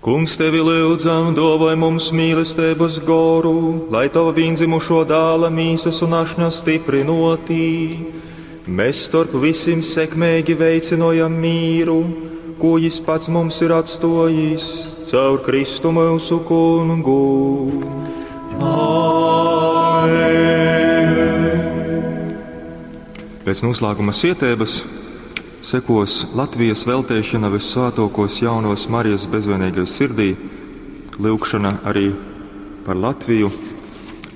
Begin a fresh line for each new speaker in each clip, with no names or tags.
Kungs, tevi lyudzam, duovoj mums mīlesteibys goru, lai tova vīndzimušuo dāla mīsys un ašņa styprynuotī, mes storp vysim sekmeigi veicynojam mīru, kū jis pats mums ir atstuojis caur Kristu myusu Kungu.
Amen.
Pēc noslēguma sieteibys sekos Latvijas velteišana Vyssvātuokos Jaunovys Marijas bezvainīgai sirdī, lyugšona arī par Latviju,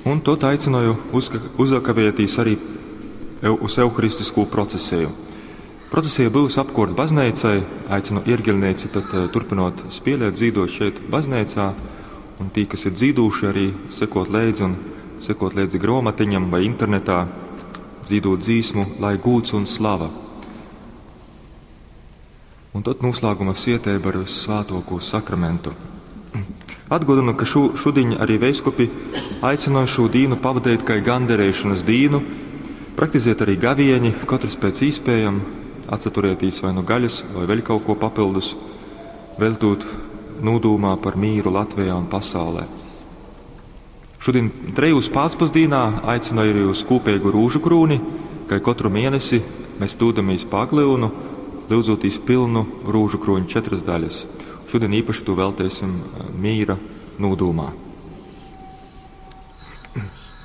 un tot aicināju uzakavētīs arī uz euharistiskū procesiju. Procesija būs apkort baznīcai, aicinu iergeļnieci tad turpinot spēlēt, dzīdot šeit baznīcā, un tī, kas ir dzīdūši, arī sekot leidzi un sekot leidzi gromatiņam vai internetā, dzīdot dzīsmu, lai gūts un slava. Un tad noslēguma sietēba ar Svētoko sakramentu. Atgādinu, ka šo, šodien arī veiskupi aicināja šo dīnu pavadīt kā ganderēšanas dīnu, praktizēt arī gavieņi, katrs pēc īspējam, atsaturētīs vai nu gaļas, vai vēl kaut ko papildus, veltūt nūdūmā par mīru Latvijā un pasaulē. Šodien trejūs pācpusdīnā aicinu arī uz kopīgu rūžu krūni, kai katru mēnesi mēs dūdamies pa Aglyunu, lyudzotīs pilnu rūžu kroņu četras daļas. Šodien īpaši to veltēsim mīra nūdūmā.